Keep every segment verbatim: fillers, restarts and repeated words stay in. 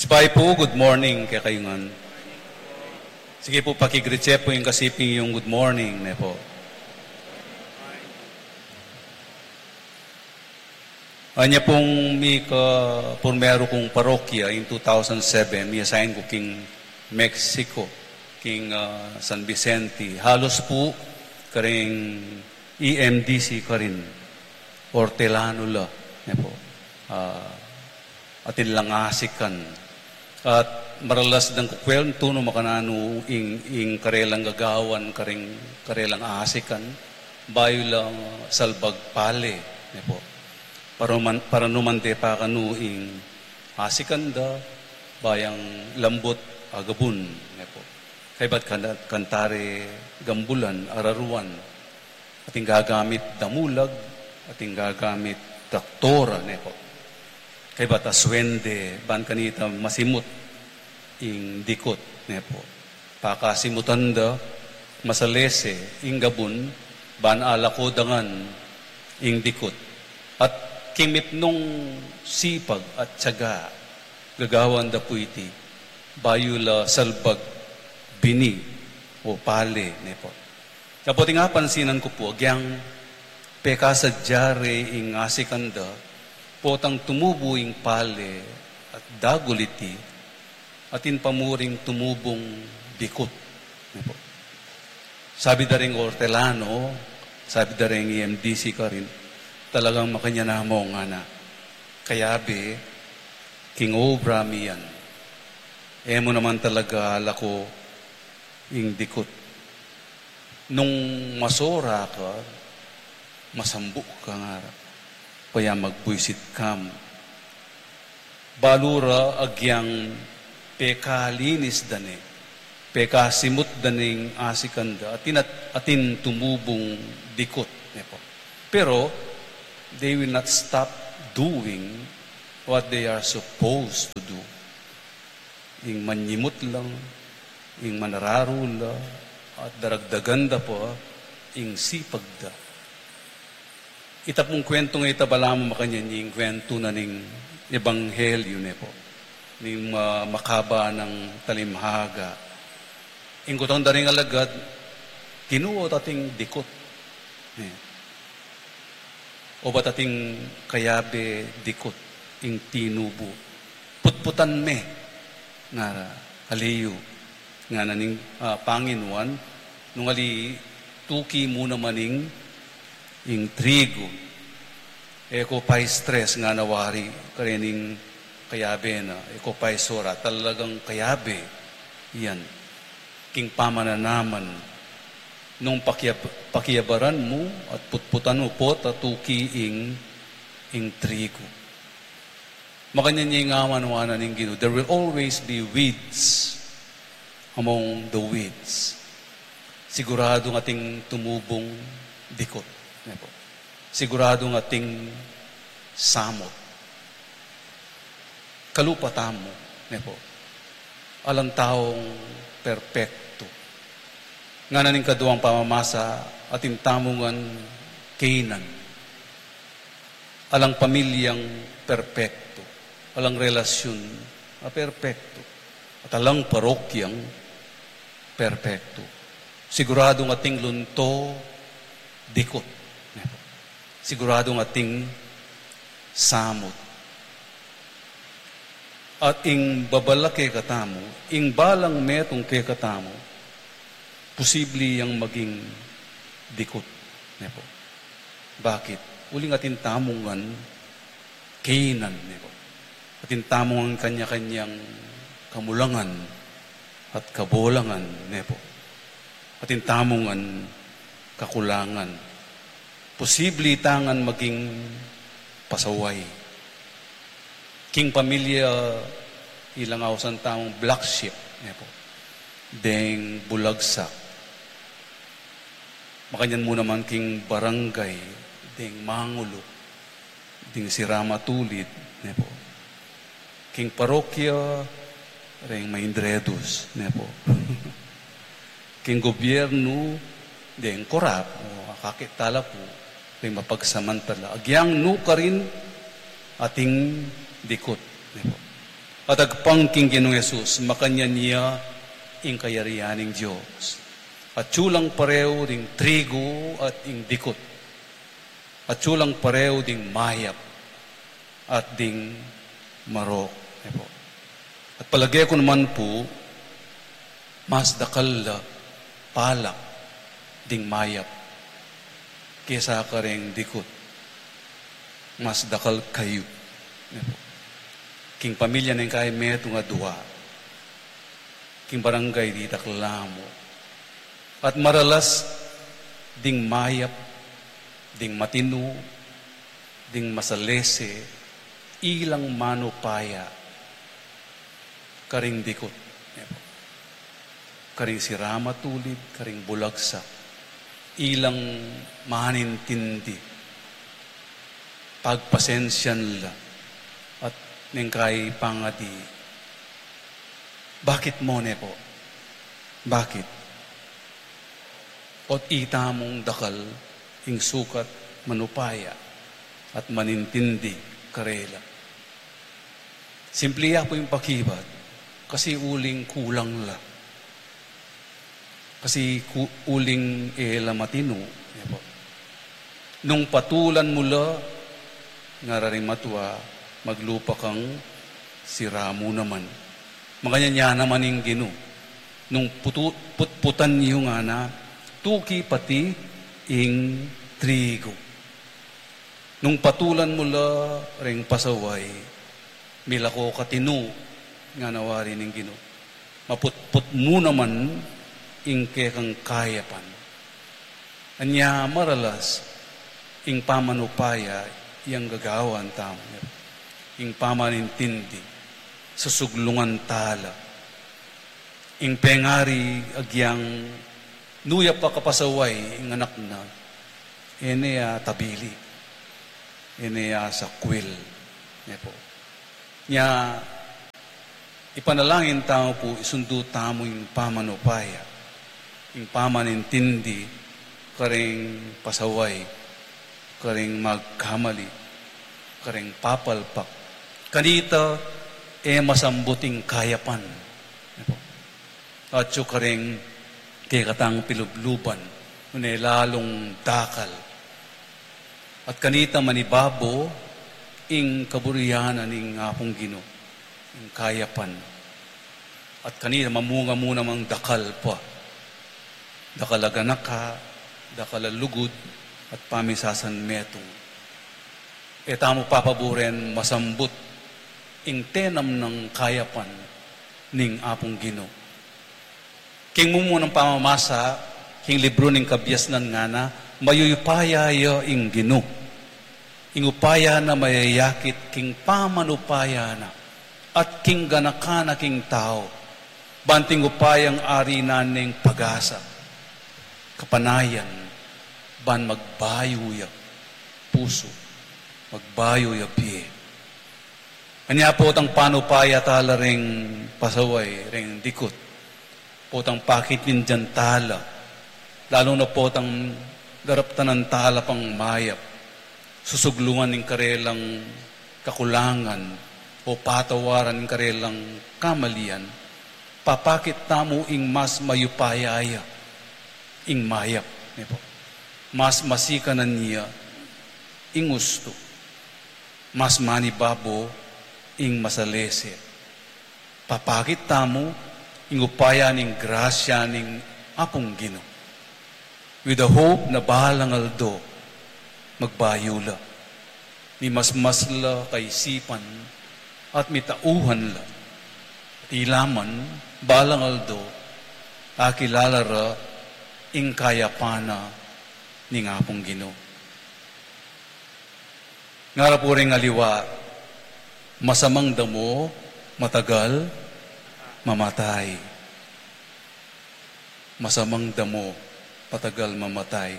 Spy po, good morning kekayu ngan. Sige po, paki-greet ye po ing kasiping yung good morning, ne po. Anya pong mika purmeru kung parokya in two thousand seven, mi-assign ku king Mexico, king, ah, San Vicente. Halos po karing E M D C karin, ortelano la, ne po. Ah, atin lang asikan. At maralas dang kukuwentu no makananu ing, ing karelang gagawan, karing karelang asikan, bayu la salbag pale, ne po. Para numan, para numan de pa kanu ing asikan da, bayang lambut a gabun, ne po. Kaybat kanta, kantare gambulan, araruan, atin gagamit damulag, atin gagamit traktora, ne po. Kaybat aswende, ban kanita masimut ing dikut, ne po. Pakasimutan da, masalese ing gabun, ban alako da ngan ing dikut. At king mipnung sipag at tiyaga, gagawan da pu iti, bayu la salbag bini o pale, ne po. Kapoting apansinan ku pu, agyang pekasadya re ing asikan da, potang tumubu ing pale at dagul iti, atin pa mu ring tumubung dikut, ne po. Sabi da ring ortelano, sabi da ring E M D C karin, talagang makanyan na mu ngana. Kayabe, king obra mi yan. E mu naman talaga alako ing dikut. Nung masora ka, masambuk ka ngara. Kaya magbuisit ka mu. Balu ra agyang pekalinis da ne, pekasimut da ning asikan da, atin at, atin tumubung dikut, ne po. Pero, they will not stop doing what they are supposed to do. Ing manyimut la, ing manararu la, at daragdagan da pa ing sipag da. Ita pung kuwentu nga ita balamu makanyan ing kuwentu na ning ebanghelyu, ne po, ning ma-, makaba nang talimhaga. Ing kutang da ring alagad, Ginu, obat ating dikut, ne. Obat ating kayabe dikut ing tinubu. Putputan me, ngara, ali yu, ngana ning, ah, Panginuan, nung ali tuki mu naman ing, ing trigu. E ko pa-stress, ngana wari, karening kayabe na, e ko pa-sora, talagang kayabe yan. King pamananaman, nung pakiab-, pakiabaran mu at putputan mu, pota tuki ing, ing trigu. Makanyan ya ing awan wanan ning Ginu, there will always be weeds among the weeds. Siguradung ating tumubung dikut, ne po. Siguradung ating samut. Kalupa tamu, ne po. Alang taung perpektu. Ngana ning kaduang pamamasa, atin tamu ngan kainan. Alang pamilyang perpektu, alang relasyun a perpektu, at alang parokyang perpektu. Siguradung ating lunto dikut. Siguradung ating samut. At ing babala kekatamu, ing balang metung kekatamu, posible yang maging dikut, ne po. Bakit? Uling atin tamu ngan kainan, ne po. Atin tamu ngan kanya-kanyang kamulangan at kabolangan, ne po. Atin tamu ngan kakulangan. Posible ta ngan maging pasaway. King pamilya, ilang ausan tamung black sheep, ne po. Deng bulagsak. Makanyan mu naman king barangay, deng mangulu, deng sira matulid, ne po. King parokya, reng maindredus, ne po. King gobyernu, deng korap, o akakit tala pu, reng mapagsamantala. Agyang nu karin ating dikut, ne po. At agpang king Ginung Jesus, makanyan ya ing kayarian ning Dios. Atyu lang pareu ding trigu at ing dikut. Atyu lang pareu ding mayap at ding marok. E pu. At palage ku naman pu, mas dakal la palak ding mayap kesa kareng dikut. Mas dakal kayu. E pu. King pamilya ning kaya metung a dua. King barangay ditak la mu. At maralas ding mayap, ding matinu, ding masalese, ilang manupaya, karing dikut. E pu. Karing sira matulid, karing bulagsak, ilang manintindi, pagpasensyan la, at neng kai pangadi, bakit mo ne pu? Bakit? Ot ita mung dakal ing sukat manupaya at manintindi karela. Simple ya pu ing pakibat, kasi uling kulang la. Kasi ku-, uling e la matinu, e pu. Nung patulan mu la, ngara ring matua, maglupa kang sira mu naman. Makanyan ya naman ing Ginu. Nung putu-, putputan yu ngana, tuki pati ing trigu. Nung patulan mu la ring pasaway, milako ka tinu, ngana wari ning Ginu. Maputput mu naman ing kekang kayapan. Anya maralas, ing pamanupaya yang gagawan tamu. Ing pamanintindi, susuglungan tala. Ing pengari agyang nu ya pa kapasaway ing anak na, e ne ya tabili, e ne ya sakwil, ne pu. Nya, ipanalangin tamu pu, isundu tamu ing pamanupaya, ing pamanintindi, karing pasaway, karing magkamali, karing papalpak. Kanita, e masambut ing kayapan. Atyu karing kekatang pilubluban, nune lalung dakal. At kanita manibabo ing kaburian ning Apung Ginu, ing kayapan. At kanita mamunga mu namang dakal pa. Dakal a ganaka, dakal a lugud, at pamisasan metung. E tamu papaburen masambut ing tenam nang kayapan ning Apung Ginu. King mumunang pamamasa, king libru ning Kabiasnan ngana, mayupaya ya ing Ginu. Ing upaya na mayayakit king pamanupaya na, at king ganaka na king tau, banting upayang ari na ning pag-asa, kapanayan, ban magbayu ya pusu, magbayu ya bie. Anya potang panupaya tala ring pasaway, ring dikut. Potang pakit ning dian tala. Lalu na potang daraptanan tala pang mayap. Susuglungan ing karelang kakulangan o patawaran ing karelang kamalian. Papakit tamu ing mas mayupaya ya, ing mayap, ne pu. Mas masikanan ya, ing ustu. Mas manibabo ing masalese. Papakit tamu ing upaya ning grasya ning Apung Ginu. With the hope na balang aldo, magbayu la. Mimasmas la kaisipan at mitauhan la. At ila man, balang aldo, akilala ra ing kayapan na ning Apung Ginu. Ngara pu ring aliwa, masamang damo, matagal, mamatay. Masamang damo, matagal mamatay.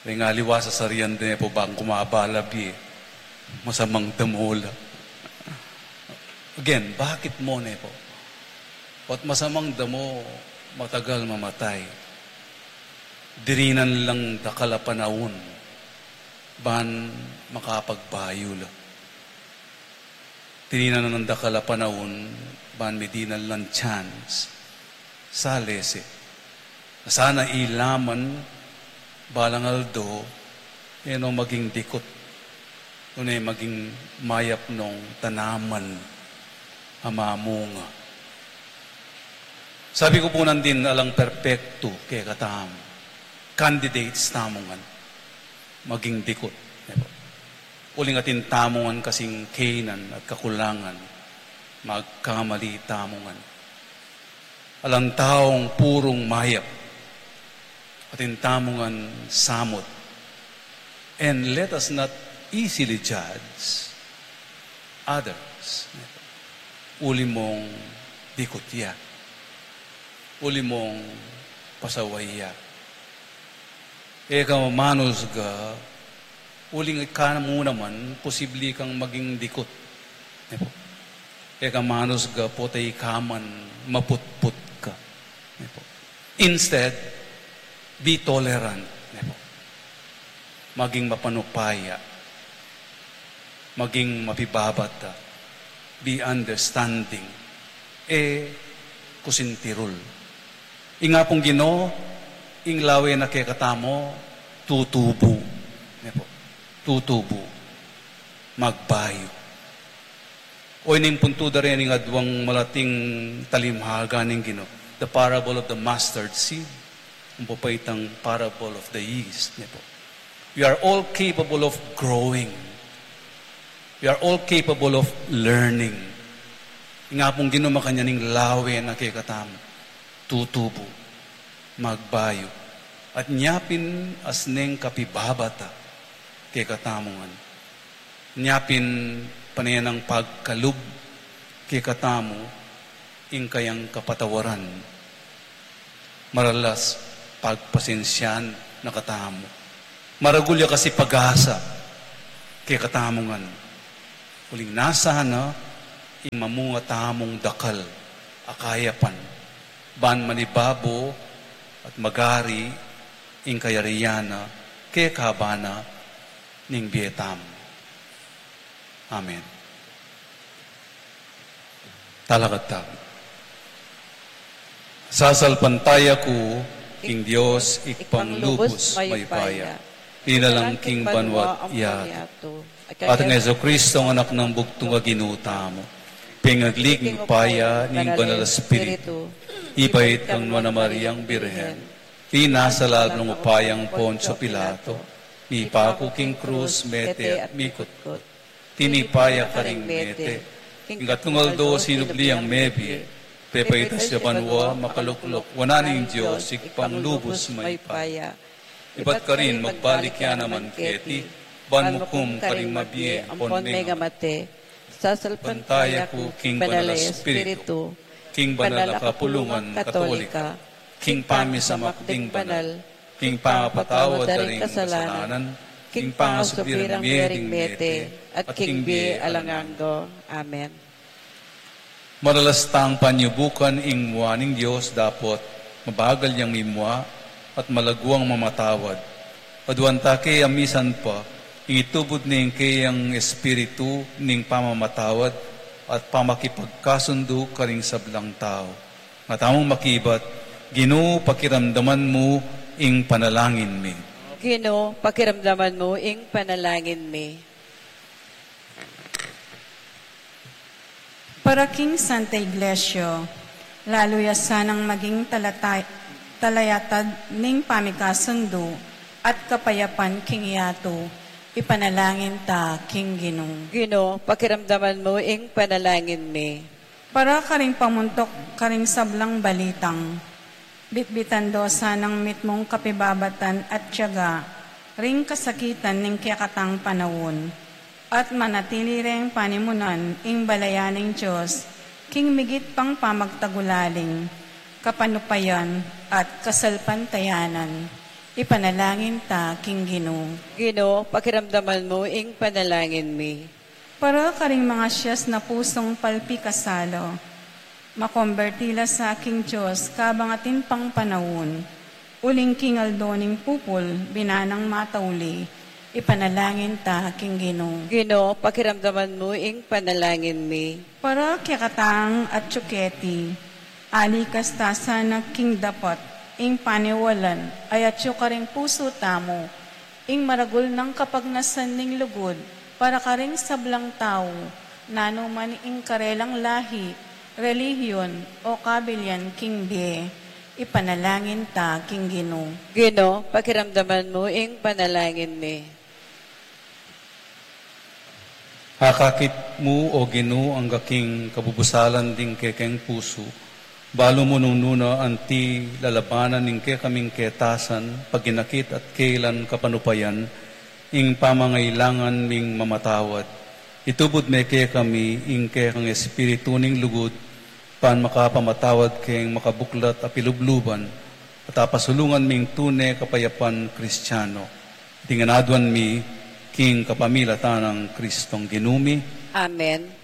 Ring aliwa sasarian de pu bang kumaba la bie. Masamang damo la. Again, bakit mo ne pu? Ot masamang damo, matagal mamatay. Dirinan lang dakal a panaun ban makapagbayu la. Tininan na nang dakal a panaun, ban mi dinan lang chance. Salese. Sana ilaman, balang aldo, e no maging dikut. Nune maging mayap nong tanaman a mamunga. Sabi ku pu nandin, alang perpektu kekatamu. Candidates tamu ngan maging dikut, ne pu. Uling atin tamu ngan kasing kenan at kakulangan, magkamali tamu ngan. Alang taung purung mayap, atin tamu ngan samut. And let us not easily judge others. Uli mong dikut ya. Uli mong pasaway ya. E ka manusga, uling ika mu naman, posible kang maging dikut. Ne pu. E ka manusga, pota ika man maputput ka. Ne pu. Instead, be tolerant. Ne pu. Maging mapanupaya. Maging mapibabata. Be understanding. E kusintirul. Ing Apung Ginu, ing lawe na kekatamu, tutubu. Ne pu. Tutubu. Magbayu. O, ining puntu da rin ing aduang malating talimhaga ning Ginu. The parable of the mustard seed. Ing papaitang parable of the yeast. Ne pu. We are all capable of growing. We are all capable of learning. Ing Apung Ginu makanyan ing lawe na kekatamu. Tutubu, magbayu, at nya pin asneng kapibabata kekatamu ngan. Nya pin pane nang pagkalub kekatamu ing kayang kapatawaran. Maralas pagpasensian na katamu. Maragul ya kasi pag-asa kekatamu ngan. Uling nasa na ing mamunga tamung dakal a kayapan, ban manibabo at magari ing kayarian na kekabana ning bie tamu. Amen. Talakad tamu. Sasalpantaya ku king Dios, Ibpang lubus mayupaya, linalang king banwa't yatu, at kang Jesucristo, Anak nang bugtung a Ginu tamu, pengagli king upaya ning Banal a Espiritu, ibait kang Nuan a Mariang Birhen, tinasa lalam ning upayang Poncio Pilato, mipaku king krus, mete at mikutkut. Tinipa ya karing mete, king katlung aldo sinubli yang mebie, pepaitas ya banua, makaluklok wanan ning Dios, Ibpang lubus mayupaya. Ibat karin magbalik ya naman keti, ban mukum karing mabie ampon mengamate. Sasalpantaya ku king Banal a Espiritu, king banal a kapulungan Katolika, king pamisamak ding banal, king pangapatawad da ring kasalanan, king pangasubli rang mie ding mete, at king bie alang angga. Amen. Maralas tang panyubukan ing mua ning Dios dapot mabagal yang mimua at malaguang mamatawad. Aduan ta ke a misan pa ing itubud ning keyang Espiritu ning pamamatawad at pamakipagkasundu karing sablang tau. Nga tamung makibat, Ginu, pakiramdaman mu ing panalangin mi. Ginu, pakiramdaman mu ing panalangin mi. Para king Santa Iglesia, lalu ya sanang maging talatay-, talayatad ning pamikasundu at kapayapan king yatu, ipanalangin ta king Ginu. Ginu, pakiramdaman mu ing panalangin mi. Para karing pamuntuk karing sablang balitang bitbitan do sanang mitmung kapibabatan at tiyaga ring kasakitan ning kekatang panaun, at manatili reng panimunan ing balayan ning Dios king migit pang pamagtagulaling, kapanupayan, at kasalpantayanan. Ipanalangin ta king Ginu. Ginu, pakiramdaman mu ing panalangin mi. Para karing mangasias na pusung palpikasala, makomberti la sa king Dios kabang atin pang panaun, uling king aldo ning pupul, binanang matauli, Ipanalangin ta king Ginu. Ginu, pakiramdaman mu ing panalangin mi. Para kekatang atyu keti, alikas ta sana king dapat ing paniwalan a atyu karing pusu tamu, ing maragul nang kapagnasan ning lugud para karing sablang tau, nanu man ing karelang lahi, relihiyon, o kabilian king bie. Ipanalangin ta king Ginu. Ginu, pakiramdaman mu ing panalangin mi. Akakit mu, O Ginu, angga king kabubusalan ding kekeng pusu. Balu mu nung nuna anti lalabanan ing kekaming ketasan, paginakit at kailan kapanupayan, ing pamangailangan ming mamatawad. Itubud me kekami ing kekang espiritu ning lugud, ban makapamatawad keng makabuklat a pilubluban, at apasulungan ming tune kapayapan Kristiano. Iti ngan aduan mi king kapamilatan nang Kristong Ginu mi. Amen.